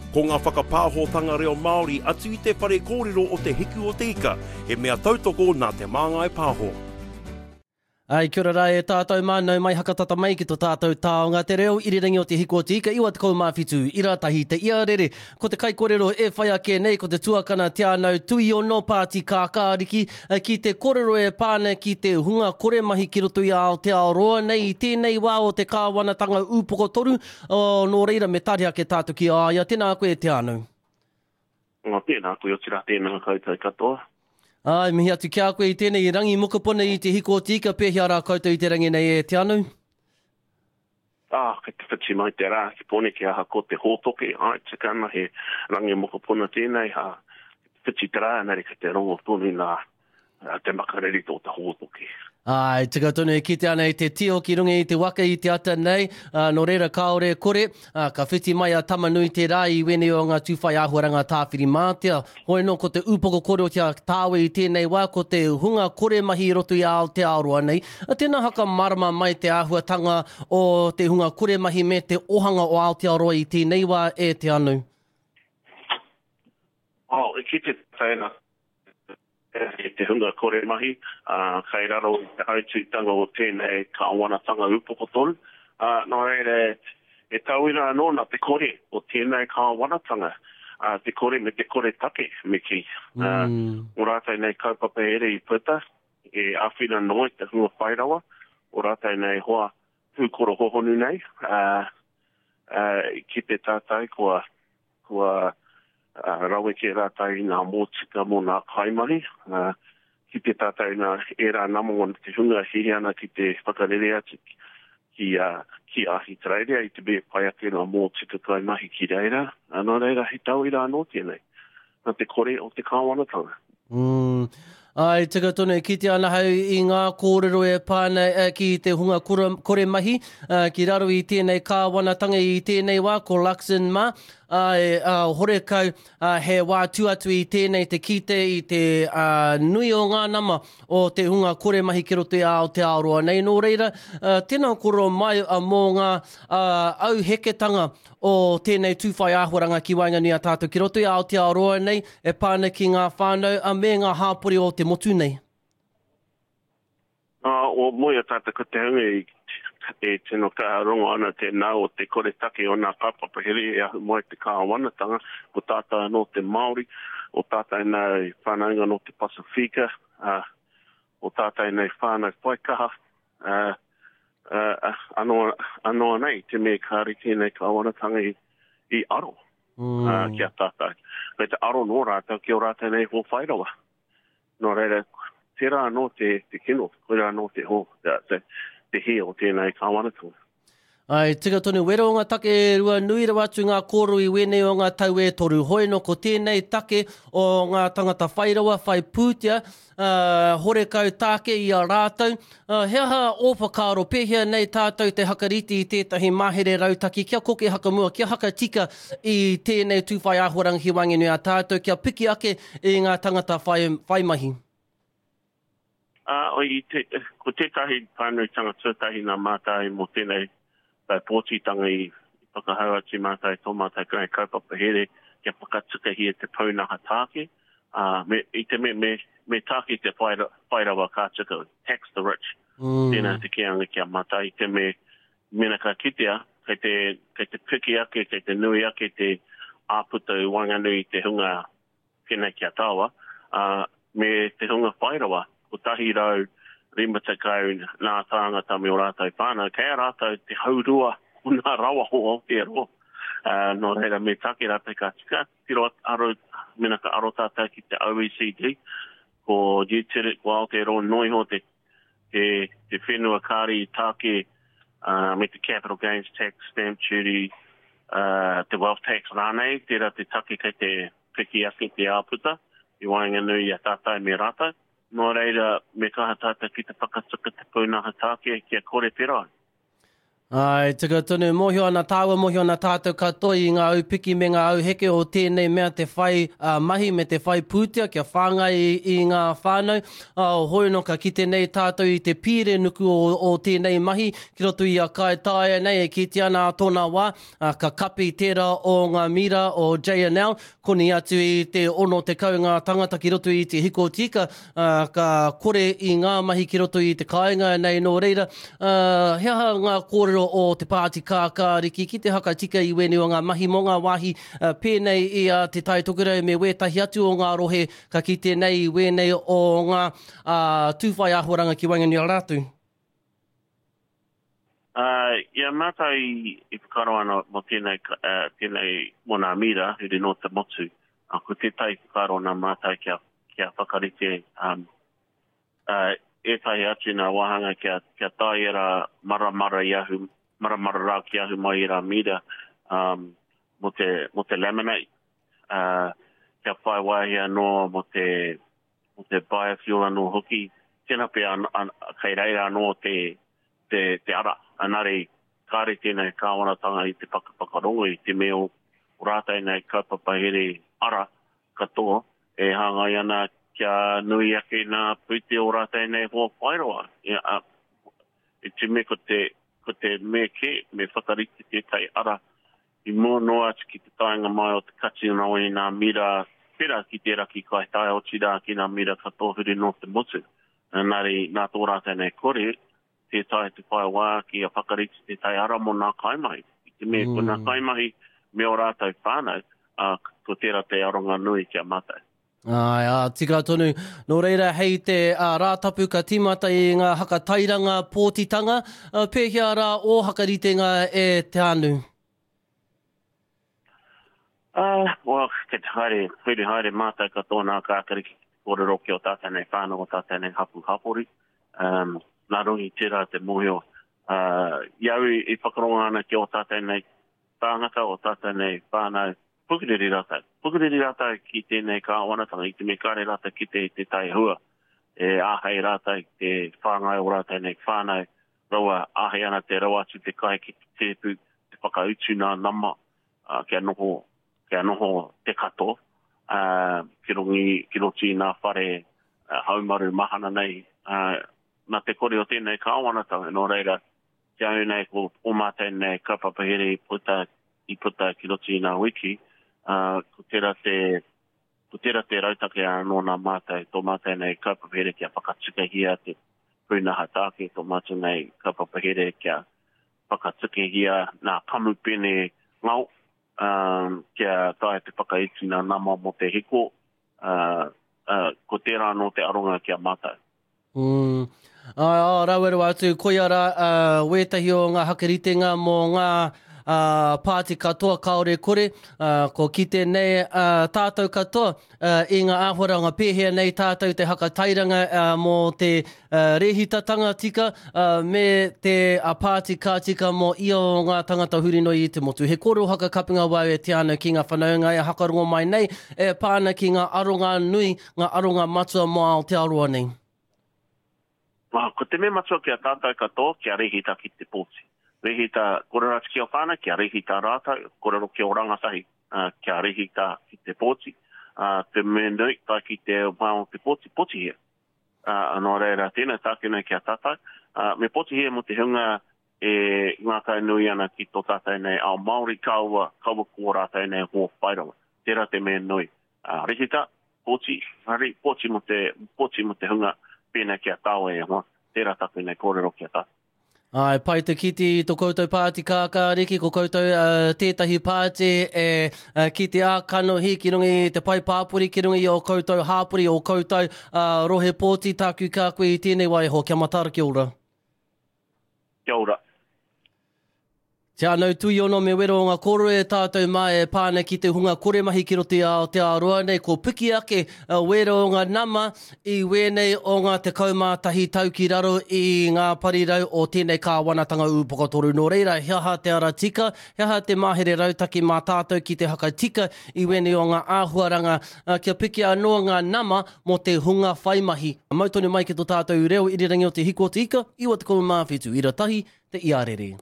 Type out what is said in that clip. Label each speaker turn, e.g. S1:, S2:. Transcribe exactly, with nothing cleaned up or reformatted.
S1: Ko ngā whakapāhotanga reo Māori atu i te whare kōrero o Te Hiku o Te Ika, he mea tautoko nā Te Māngai Pāho.
S2: Ai, kia ora rā e tātou mā, nau mai hakatata mai ki to tātou taonga te reo irirangi o Te Hiku o Te Ika, iwa tekau mā whitu, ira tahi te iarere. Ko te kaikorero e whai ake nei, ko te tuakana Te Anau Tuiono Pāti Kākāriki, ki te korero e pā ana ki te hunga kore mahi ki roto i Aotearoa nei i tēnei wā o te kāwanatanga ūpoko toru, o, nō reira me tari ake tātou ki a ia. Tēnā koe Te Anau.
S3: Ngā tēnā koe, otirā tēnā koutou katoa.
S2: Ai, mihi atu ki a koe i tēnei rangi mokopuna i Te Hiku o Te Ika, pēhea rā koutou i te rangi nei e Te Anau?
S3: Ah, kei te whiti mai te rā ki Pōneke aha ko te hōtoke, ai, tika ana he rangi mokopuna tēnei, ha, whiti te rā, engari kei te rongo tonu nā te makariri tō te hōtoke.
S2: Ai, tika tonu e kite ana i te tio ki runga i te waka i te ata nei, uh, nō reira kāore kore, uh, ka whiti mai a Tamanui te rā i wēnei o ngā tūwhai āhuaranga tāwhiri mātea. Hoi nō ko te ūpoko kore o te tāwe i tēnei wā, ko te hunga kore mahi i roto i Aotearoa nei. A tēnā haka marama mai te āhuatanga o te hunga kore mahi me te ohanga o Aotearoa i tēnei wā e Te Anu.
S3: Oh, e kite tēnā e te hunga kore mahi, uh, kai raro i te hautūtanga o tēnei kāwanatanga ūpoko toru. Uh, nō reira, e tauira anō nā te kore o tēnei kāwanatanga, uh, te kore me te kore take, me ki. Uh, mm. O rātou nei kaupapa here i puta, e āwhina noa i te hunga whairawa, o rātou nei hoa pūkoro hohonu nei, uh, uh, ki te tātai kua, kua Uh, raweke rātou i ngā mōtika mō ngā kaimahi, uh, ki te tātou nā ērā nama o te hunga hihi ana ki te whakarere atu ki, uh, ki Ahitereiria i te mea pai ake ngā mōtika kaimahi ki reira. Uh, nō reira, he tauira anō tēnei, nā te kore o te kāwanatanga.
S2: Mm. Ai, tika tonu, e kite ana hau i ngā kōrero e pā ana ki te hunga kore, kore mahi, uh, ki raro i tēnei kāwanatanga i tēnei wā, ko Luxon mā, ai, uh, horekau, uh, he wā atu i tēnei te kite i te uh, nui o ngā nama o te hunga kore mahi ki roto i Aotearoa nei. Nō reira, uh, tēnā koro mai uh, mō ngā uh, auheketanga o tēnei tūwhai āhuaranga ki waenganui a tātou ki roto i Aotearoa nei e pā ana ki ngā whānau uh, me ngā hāpori o te motu nei.
S3: Uh, o moi a tātou ko te hunga i e tino kaha rongo ana te nā o te kore take o nā kaupapa here e ahu mai te kāwanatanga, ko tātou anō te Māori, o tātou nei whānaunga nō te Pasifika, uh, o tātou nei whānau whaikaha, uh, uh, anō, anō nei te mea kāre tēnei kāwanatanga i, i aro mm. uh, ki a tātou. Me te aro nō rātou ki o rātou nei ho whairawa. Nō reira, tērā anō te, te kino, koirā anō te ho, te, te, te he o tēnei kāwanatanga.
S2: Ai, tika tonu, wero o ngā take e rua nui rawa atu ngā kōrero i wēnei o ngā tau e toru. Hoi no ko tēnei take o ngā tangata whairawa, whai pūtea, uh, horekau tāke i a rātou. Uh, he aha ō whakaaro, pēhea nei tātou te hakariti i tētahi mahere rautaki, kia koke hakamua, kia hakatika i tēnei tūwhai āhuarangi ki waenganui a tātou, kia piki ake i ngā tangata whai, whai mahi.
S3: Uh, i te, ko tētahi pānuitanga tuatahi nā mātai mō tēnei pōtitanga i whakahau atu mātai tō mātai kai kaupapa here kia whakatukahia te pūnaha tāke. Uh, me, i te me, me, me tāke te whairawa ka tika, tax the rich. Mm. Tēnā te kianga kia mātai i te me mena ka kitea, kei te, kei te piki ake, kei te nui ake te āputa i waenganui i te hunga pēnei kia tāua, uh, me te hunga whairawa, kotahi rau rima tekau nā tāngata me o rātou whānau, kei a rātou te haurua o nā rawa o Aotearoa. Uh, nō reira me take rātou ka tika, tiro aro, mena ka aro tātou ki te O E C D, ko New ko Aotearoa noiho te, te, te whenua kāri tāke uh, me te capital gains tax, stamp duty, uh, te wealth tax rānei, tērā te take kei te piki ake te āputa, i waenganui i a tātou me rātou. Nō reira, me kaha tātou ki te whakatuka te pūnaha tāke kia kore pera.
S2: Ai, tika tonu, mōhio ana tāua, mōhio ana tātou katoa i ngā aupiki me ngā auheke o tēnei mea te whai uh, mahi me te whai pūtea kia whāngai i, i ngā whānau. Uh, hoi no ka kite nei tātou i te pīre nuku o, o tēnei mahi ki roto i a Kaitaia nei e kite ana a tōna wā, uh, ka kapi tērā o ngā mira o J N L, koni atu i te ono tekau ngā tangata ki roto i te hiko tika, uh, ka kore i ngā mahi ki roto i te kāinga nei nō reira. Uh, he aha ngā kōrero o te Pāti Kākāriki ki te hakatika i wēnei o ngā mahi mō ngā wāhi uh, pēnei i a Te Tai Tokerau me wētahi atu o ngā rohe ka kite nei i wēnei o ngā uh, tūwhai āhuaranga ki waenganui a rātou?
S3: Uh, ia mātou i, i whakaaro ana mō tēnei, uh, tēnei mō nā mira, huri nō te motu. Uh, ko tētahi whakaaro nā mātou kia, kia whakarite um, uh, ētahi atu nā wāhanga kia, kia tae era maramara i ahu, maramara rā ki ahu mai i rā mira um, mō te, mō te laminate, uh, kia whai wāhi anō mō te, mō te biofuel anō hoki. Tēnā pea an, an, kei reira anō te, te, te ara. Anare, kāre tēnei kāwanatanga i te whakawhakarongo i te mea o rātou nei kaupapa here ara katoa e hāngai ana kia nui ake nā pūte o rātou nei hoa whairoa. Ia, a, i te mea ko te, ko te mea kē, me whakarite tētahi ara i mua noa atu ki te taenga mai o te kati o i nā mira pera ki te raki Kaitaia o tira ki nā mira katoa huri nō te motu. Nāri, nā tō rātou nei kore, te tae te whai wā ki a whakarite tētahi ara mō nā kaimahi. I te mea mm. ko nā kaimahi me o rātou whānau, uh, ko tērā te aronga nui kia mātou.
S2: Ai, ā, tika tonu. Nō reira, hei te uh, Rātapu ka tīmata i ngā hakatairanga pōtitanga, uh, pēhea rā o hakaritenga e Te Anu?
S3: Uh, well, ke te haere, huri haere mātou katoa nā kākariki ki te kōrero ki o tātou nei whānau, o tātou nei hapu hapori. Um, nā rungi tērā te mōhio. Uh, i au i whakaronga ana ki o tātou nei tāngata, o tātou nei whānau, pukuriri rātou. Pukuriri rātou ki tēnei kāwanatanga, i te me kāre rātou ki te, te tai hua. E āhei rātou te whāngai o rātou nei whānau, rawa āhei ana te rawa atu te kai ki te tēpu, te whakautu nā nama, uh, kia noho, kia noho te katoa, uh, ki rongi, ki roti nā whare uh, haumaru mahana nei, uh, nā te kore o tēnei kāwanatanga, nō reira, te au nei ko o mātou nei kaupapa here i puta, i puta ki roti i nā wiki, uh, ko tērā te, ko tērā te rautake anō nā mātou, tō mātou nei kaupapa here kia whakatukahia te pūnaha tāke, tō mātou nei kaupapa here kia whakatukahia nā kamupene ngau, um, kia tae te whakaiti nā nama mō te hiko, uh, uh, ko tērā anō te aronga kia mātou.
S2: Mm. Ai, oh, raweru atu, koia rā uh, wētahi o ngā hakaritenga mō ngā uh, pāti katoa kāore kore, uh, ko kite nei uh, tātou katoa uh, i ngā āhuaranga pēhea nei tātou te hakatairanga uh, mō te uh, rēhitatanga tika uh, me te uh, pāti kā tika mō ia o ngā tangata huri noi i te motu. He kōrero hakakapinga wau e te ana ki ngā whanaunga e hakarongo mai nei e pāna ki ngā aronga nui, ngā aronga matua mō Aotearoa nei.
S3: Ah, ko te mea matua kia tātou katoa, kia rehita ki te pōti. Rehita, kōrero atu ki o whānau, kia rehita rātou, kōrero ki o rangatahi, uh, kia rehita ki te pōti. Uh, te mea nui, tae ki te wā o te pōti, pōtihia. Uh, nō reira, tēnā tākina kia tātou. Uh, me pōtihia mō te hunga e ngākau nui ana ki tō tātou nei ao Māori, kaua, kaua ko rātou nei hoa whairawa. Tērā te mea nui. Uh, rehita, pōti, hari, pōti mō te, pōti mō te hunga, pēnā kia tāua e hoa, tērā taku nei kōrero kia tātou.
S2: Ai, pai te kite i tō koutou pāti kākāriki, ko koutou uh, tētahi pāti e uh, ki te ākanohi, ki runga i te pai pāpori, ki runga i o koutou hāpori, o koutou uh, rohe pōti, tāku kā koe i tēnei waiho. Kia matara, kia ora.
S3: Kia ora.
S2: Te anau tuiono me wero o ngā koro e tātou mā e pāna ki te hunga kore mahi ki roto i Aotearoa nei, ko piki ake wero o ngā nama i wēnei o ngā tekau mā tahi tau ki raro i ngā parirau o tēnei kāwanatanga ūpoka toru. Nō reira, he aha te ara tika, he aha te mahere rautaki mā tātou ki te hakatika i wēnei o ngā āhuaranga kia piki anō ngā nama mō te hunga whai mahi. Mau tonu mai ki tō tātou reo irirangi o te hiko o te ika, iwa tekau mā whitu, ira tahi, te iarere.